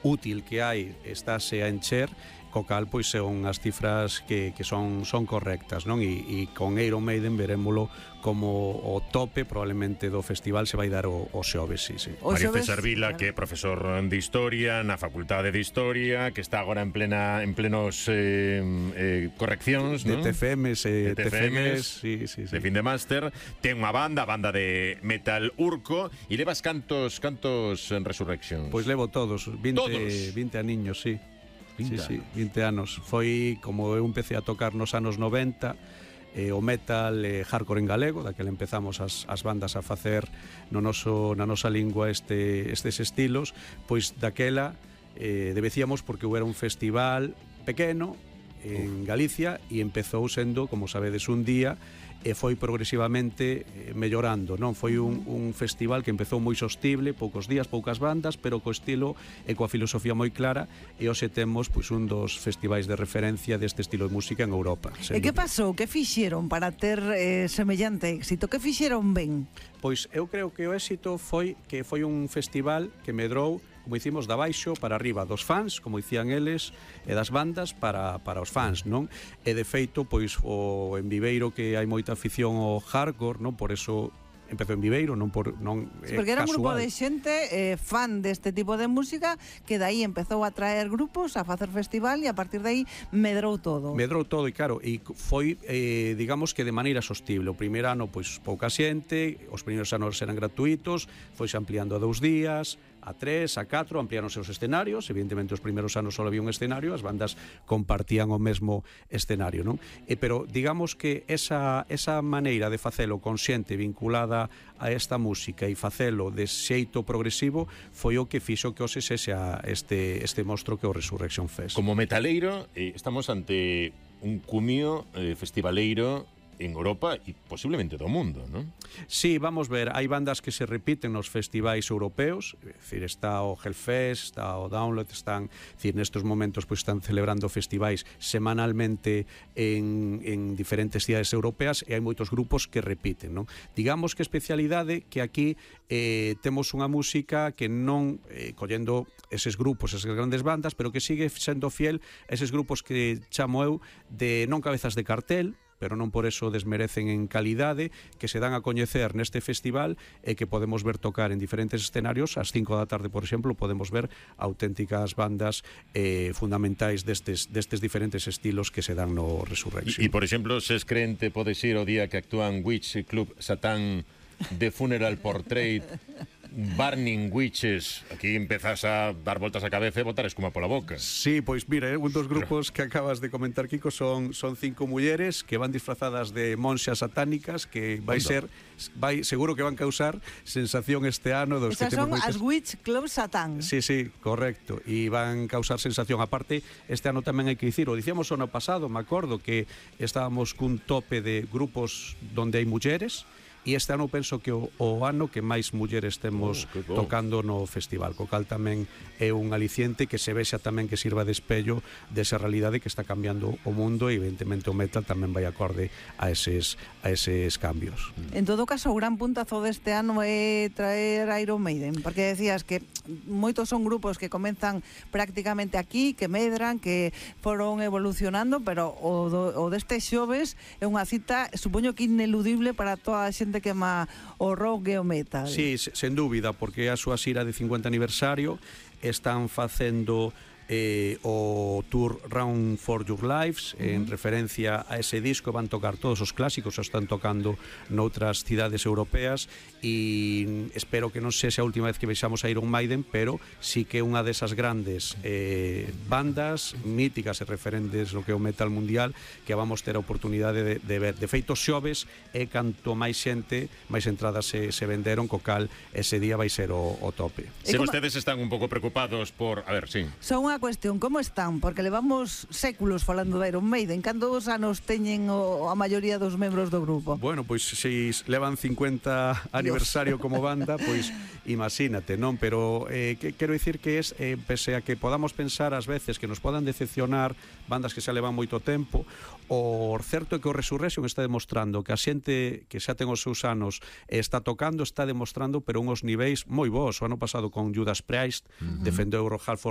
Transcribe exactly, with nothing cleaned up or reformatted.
útil que hai estáse a encher, co cal pois son as cifras que, que son, son correctas, non? E, e con Iron Maiden verémolo como o tope probablemente do festival se vai dar o, o xoves, sí, sí. O Mario César Vila, que é profesor de Historia na Facultade de Historia, que está agora en plena en plenos eh, eh, correccións, de non? T F Ms, eh, de T F Ms, sí, sí, sí. de fin de máster, ten unha banda, a banda de metal Urco, e levas cantos cantos en Resurrection? Pois levo todos, vinte, todos? vinte aniños, sí. vinte Sí, sí, vinte anos. Foi como eu empecé a tocar nos anos noventa, eh, o metal eh, hardcore en galego, daquela empezamos as, as bandas a facer no noso, na nosa lingua este, estes estilos, pois daquela eh, debecíamos porque era un festival pequeno en Galicia e empezou sendo, como sabedes, un día e foi progresivamente mellorando, non? Foi un, un festival que empezou moi sostible, poucos días, poucas bandas, pero co estilo e coa filosofía moi clara, e hoxe temos pois un dos festivais de referencia deste estilo de música en Europa. E que pasou? Que fixeron para ter eh, semellante éxito? Que fixeron ben? Pois eu creo que o éxito foi que foi un festival que medrou, como dicimos, da baixo para arriba, dos fans, como dicían eles, e das bandas para, para os fans, non? E de feito, pois, o en Viveiro que hai moita afición ao hardcore, non? Por eso empezou en Viveiro, non por non sí, porque era un grupo de xente eh, fan deste tipo de música que dai empezou a traer grupos, a facer festival e a partir de aí medrou todo. Medrou todo e claro, e foi eh, digamos que de maneira sostible. O primeiro ano pois pouca xente, os primeiros anos eran gratuitos, foise ampliando a dous días, a tres, a catro, ampliaron os escenarios. Evidentemente os primeiros anos só había un escenario, as bandas compartían o mesmo escenario, non? E, pero digamos que esa, esa maneira de facelo consciente, vinculada a esta música e facelo de xeito progresivo foi o que fixo que hoxe sexa este, este monstro que o Resurrection Fest. Como metaleiro, eh, estamos ante un cumio eh, festivaleiro en Europa e posiblemente do mundo, non? Sí, vamos ver, hai bandas que se repiten nos festivais europeos, é dicir, está o Hellfest, está o Download, están, é dicir, nestes momentos pois están celebrando festivais semanalmente en, en diferentes cidades europeas e hai moitos grupos que repiten, non? Digamos que especialidade que aquí eh, temos unha música que non, eh, collendo eses grupos, esas grandes bandas, pero que sigue sendo fiel a eses grupos que chamo eu de non cabezas de cartel, pero non por eso desmerecen en calidade, que se dan a coñecer neste festival e que podemos ver tocar en diferentes escenarios. Ás cinco da tarde, por exemplo, podemos ver auténticas bandas eh, fundamentais destes, destes diferentes estilos que se dan no Resurrection. E, por exemplo, se es crente, podes ir o día que actúan Witch Club Satán, The Funeral Portrait, Burning Witches. Aquí empezas a dar voltas a cabeza e botar espuma pola boca. Sí, pois mira, un dos grupos que acabas de comentar, Kiko, son son cinco mulleres que van disfrazadas de monxas satánicas, que vai ser vai seguro que van causar sensación este ano dos Esas que son temos moitas... as Witch Club Satán. Sí, sí, correcto. E van causar sensación. Aparte, este ano tamén hai que dicir, o dicíamos o ano pasado, me acordo que estábamos cun tope de grupos donde hai mulleres, e este ano penso que o, o ano que máis mulleres temos oh, tocando no festival, co cal tamén é un aliciente que se vexa tamén que sirva de espello desa realidade que está cambiando o mundo, e evidentemente o metal tamén vai acorde a eses, a eses cambios. En todo caso, o gran puntazo deste ano é traer Iron Maiden, porque decías que moitos son grupos que comenzan prácticamente aquí, que medran, que foron evolucionando, pero o, do, o deste xoves é unha cita, supoño que ineludible para toda a xente que ama o rock e o metal. Sí, sen dúbida, porque é a súa xira de cincuenta aniversario, están facendo eh, o tour Round for Your Lives, uh-huh. en referencia a ese disco. Van tocar todos os clásicos, o están tocando noutras cidades europeas, e espero que non sexa a última vez que vexamos a Iron Maiden, pero sí que unha desas grandes eh, bandas míticas e referentes no que é o metal mundial, que vamos ter a oportunidade de, de ver. De feito, xoves é canto máis xente, máis entradas se, se venderon, co cal ese día vai ser o, o tope. Se vostedes están un pouco preocupados por... A ver, sí. Son unha cuestión, como están? Porque levamos séculos falando de Iron Maiden. Cantos anos teñen o, a maioría dos membros do grupo? Bueno, pois se levan cincuenta aniversario Dios. Como banda, pois imagínate, non? Pero eh, que, quero dicir que es, eh, pese a que podamos pensar ás veces que nos podan decepcionar bandas que xa levan moito tempo, o certo é que o Resurrection está demostrando que a xente que xa ten os seus anos está tocando, está demostrando, pero unhos niveis moi bons. O ano pasado con Judas Priest, uh-huh. defendeu o Rock Halford